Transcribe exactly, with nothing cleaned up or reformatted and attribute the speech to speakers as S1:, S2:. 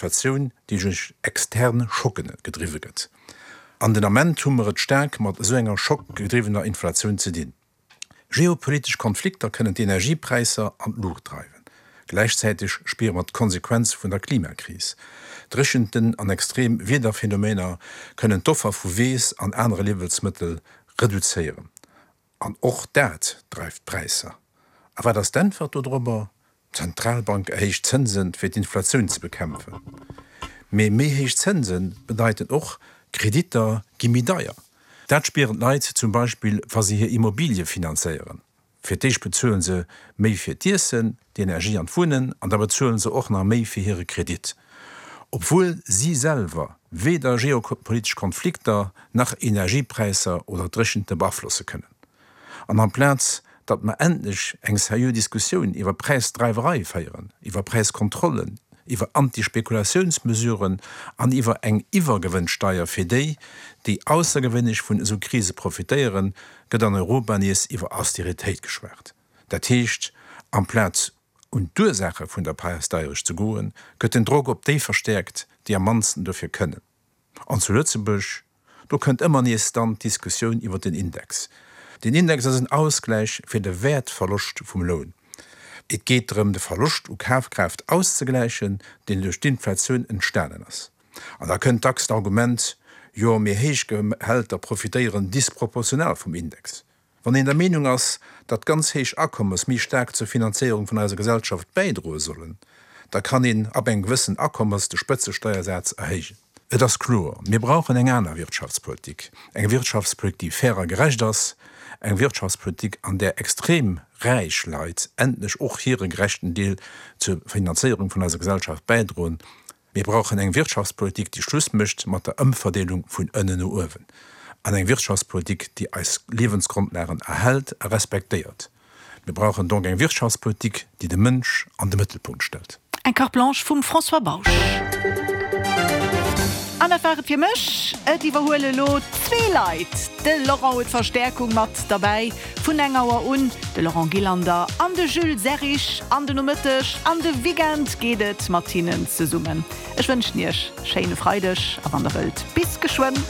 S1: Inflatioun, déi duerch extern Schocken gedriwwe gëtt. An den Ament hu mer et staark mat esou enger schockgedriwwener Inflatioun ze dinn. Geopolitesch Konflikter kënnen d'Energiepräisser an d'Luucht dreiwen. Gläichzäiteg spiere mer d'Konsequenze vun der Klimakris. Dréchenten an extrem Wiederphenomener kënnen d'Offer vu Weess an anere Liewensmëttel reduzéieren. An och dat dreift d'Präisser. A wat ass d'Äntwert dodrobber? D'Zentralbank erhéicht d'Zënsen, fir d'Inflatioun ze bekämpfen. Mee méi héich Zënse bedeiten och, Kreditter gi méi deier. Dat spieren d'Leit zum Beispill, wa se hir Immobilie finanzéieren. Fir d'éischt bezuele se méi fir d'Iessen, d'Energie an d'Wunnen, an da bezuele se och nach méi fir hire Kredit. Obwuel si selwer weder geopolitesch Konflikter nach Energiepräisser oder Dréchente beaflosse kënnen. An amplaz datt mer endlech eng seriö Diskussioun iwwer Präisdreiwerei féieren, iwwer Präiskontrollen, iwwer Antispekulatiounsmesuren an iwwer eng Iwwergewënnsteier fir déi, déi aussergewéinlech vun esou Krise profitéieren, gëtt an Europa nees iwwer Austeritéit geschwat. Dat heescht, amplaz un d'Ursaache vun der Präisdeierecht ze goen, gëtt den Drock op déi verstäerkt, déi am mannsten dofir kënnen. An zu Lëtzebuerg, do kënnt ëmmer nees dann d'Diskussioun iwwer den Index. Den Index ass en Ausgläich fir de Wäertverloscht vum Loun. Et geet drëm, de Verloscht u Kafkraaft auszegläichen, deen duerch d'Inflatioun entstanen ass. An da kënnt dacks d'Argument, Jo, mee héich Gehälter profitéieren disproportional vum Index. Wann een der Meenung ass, datt ganz héich Akommes méi staark zur Finanzéierung vun eiser Gesellschaft bäidroe sollen, da kann een ab engem gewëssen Akommes de Spëtzesteiersaz erhéijen. Et ass kloer, Mir brauchen eng aner Wirtschaftspolitik, eng Wirtschaftspolitik, déi fair a gerecht ass, eng Wirtschaftspolitik, an där extrem räich Leit endlech och hire gerechten Deel zur Finanzéierung vun eiser Gesellschaft bäidroen. Mir brauchen eng Wirtschaftspolitik, déi Schluss mécht mat der Ëmverdeelung vun ënnen no uewen, an eng Wirtschaftspolitik, déi eis Liewensgrondlagen erhält a respektéiert. Mir brauchen donc eng Wirtschaftspolitik, déi de Mënsch an de Mëttelpunkt stellt.
S2: Eng Carte Blanche vum François Bausch. An dat war et fir mech. Et iwwerhuele lo zwee Leit. De Laurent huet Verstäerkung mat derbäi vun eng Auer un, de Laurent Gillander an de Jules Serrig. An de Nomëtteg an de Weekend geet et mat hinnen zesummen. Ech wënschen iech schéine Freideg a wann der wëllt, bis geschwënn.